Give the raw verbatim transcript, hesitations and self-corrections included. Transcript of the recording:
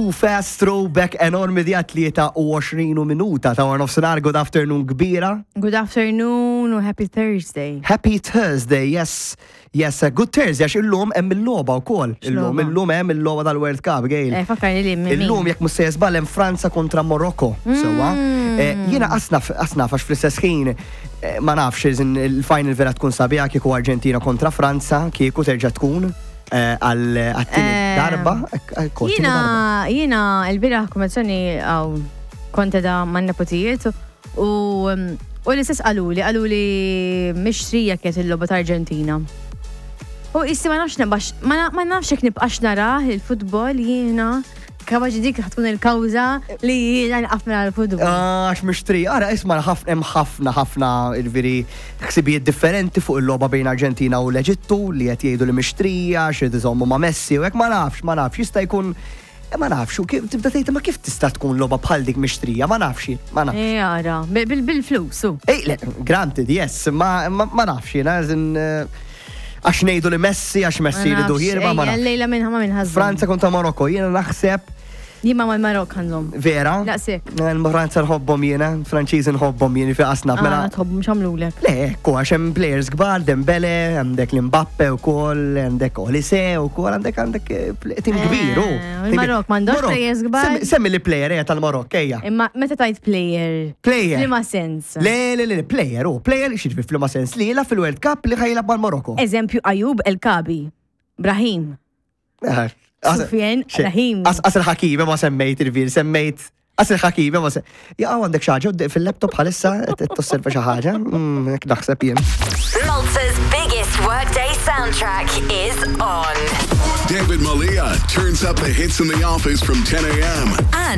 Fast throwback enormi di tlieta u għoxrin minuta ta' nofsinhar. Good afternoon kbira. Good afternoon u happy Thursday. Happy Thursday, yes. Yes, good Thursday, għax illum hemm il-logħba wkoll. Illum, X'logħba? Illum hemm il-logħba tal-World Cup, Gail. Eh, fakkarni li min. Illum, jekk mhux se żball, hemm Franza kontra Morocco, sewwa. Eh, Jiena asnaf asnaf għax fl-istess ħin eh, ma nafx iżin il-final vera tkun sabiħa kieku Argentina kontra Franza, kieku terġa' tkun eh, għal għat-tieni Eh, darba. ek- ekku, għat-tieni Jiena, darba. jiena il-bieraħ kummissjoni għaw kont da man nepotijiet u u l-istess qaluli, qaluli mixtrija kienet il-logħba ta' Argentina. U issi ma nafx nibqax, ma na- ma nafx jekk nibqax narah il-futbol jiena, kapaċi dik tkun il-kawża li jiena nqaf minn l-futbol. Ah, għax mixtri, ara, isma', ħafna hemm ħafna ħafna il-veri ħsibijiet differenti fuq il-logħba bejn Argentina u l-Eġittu li qed jgħidu li mixtrija, xi iżommu ma' Messi u hekk. Ma nafx, ma nafx, jista' jkun eh, ma nafx, u kif tibda tgħid ma kif tista' tkun logħba bħal dik mixtrija, ma nafx, ma nafx. Eh, ara, bil- bil-flus, u. Ej, le, granted, yes, ma, ma, ma nafx, jiena, eżin, eh, għax ngħidu li Messi, għax Messi jridu jirba, ma nafx. Lejla minn ma minn ħażin. Franza kontra Marokko, jiena naħseb Jien ma mal-Marok ħa nżomm. Vera? Daqshekk. Il-Franza nħobbhom jiena, Franċiżi nħobbhom jien fi qasna. Mela. Tħobb mhux għamlulek. Le, ekku, għax hemm players kbar, Dembele, għandek l-Mbappe u koll, għandek Olise u koll, għandek għandek eh, pl- tim kbir, u. Eh, il-Marok m'għandux Marok. players kbar? Semmi- Semmi li player eh, tal-Marok, ejja. Imma meta tajt player. Player. Liema sens? Le, le, le, le, player, u, player, xieġbi fl sens li jilgħab fil-World Cup li ħa jilgħab mal-Marokko. Eżempju, Ayoub El Kaabi. Brahim. Eh, as- Sufyan xe- Rahim. As as il-Hakimi ma semmejt il-vir, semmejt. As il-Hakimi ma semmejt. Ja, għandek xi ħaġa fil-laptop bħalissa, tosserva xi ħaġa, Mm, hekk naħseb jien. Malta's biggest workday soundtrack is on. David Malia turns up the hits in the office from ten a m And